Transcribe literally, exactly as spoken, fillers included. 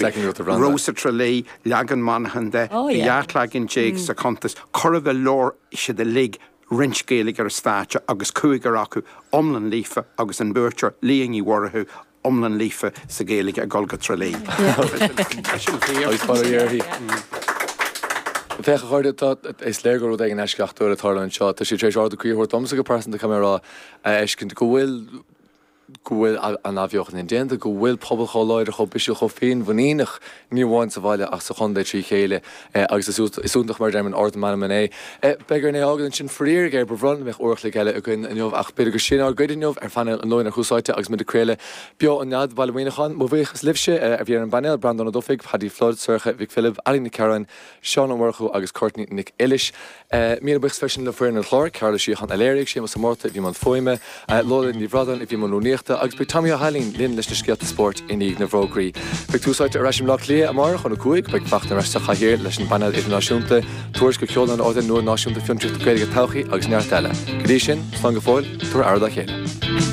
Rós i Tralee, leagan Monaghan de, bhí dhá leagan déag sa chuntas, chóir a bheith labhair siad uilig roinnt Gaeilge ar an stáitse agus cúigear acu iomlán líofa agus an buaiteoir Liadh Ní Mhurchú iomlán líofa sa Ghaeilge ag dul go Tralee. Agus fara uirthi. Féach a chairde, tá is léir gur rud éigin eisceachtúil ag tarlú anseo. Tá sé tar éis ardú croí a thabhairt domsa go pearsanta caithfidh mé a rá a fheiscint go bhfuil go bhfuil an athbheochan indéanta, go bhfuil pobal chomh láidir, chomh bisiúil, chomh féinmhuiníneach, ní amháin sa bhaile ach sa chontae trí chéile agus is iontach mar a deirim an ard meanman é. Beidh orainn é a fhágáil ansin faraor géar, ba bhreá liom go mbeadh uair a chloig eile againn inniu ach b'fhéidir gur sin ár gcuid inniu ar phainéal an Luain ar Thús Áite agus muid ag craoladh beo ón Nead, Baile Mhuineacháin. Mo bhuíochas libhse a bhí ar an bpainéal, Breandán Ó Dufaigh, Paddy Flood, Sorcha Mhic Philib, Ali Nic Cearáin, Seán Ó Murchú agus Courtney Nic Uilis. Míle buíochas freisin le foireann an chláir, Cearbhall Ó Síocháin a léirigh, Séamus Ó Márta a bhí i mbun fuaime, Lola Ní Bhradáin a bhí i mbun rúnaíochta agus beidh Tommy Ó hAilín linn leis na scéalta spóirt i ndiaidh na bhfógraí. Beidh Tús Áite ar ais i mBleá Cliath amárach óna cúig, beidh Fachtna ar ais sa chathaoir leis an bpainéal idirnáisiúnta, tuairisc ó sheoladh an ardáin nua náisiúnta fiontraíochta Gaeilge Todhchaí agus neart eile. Go dtí sin, slán go fóill, tabhair aire dá chéile.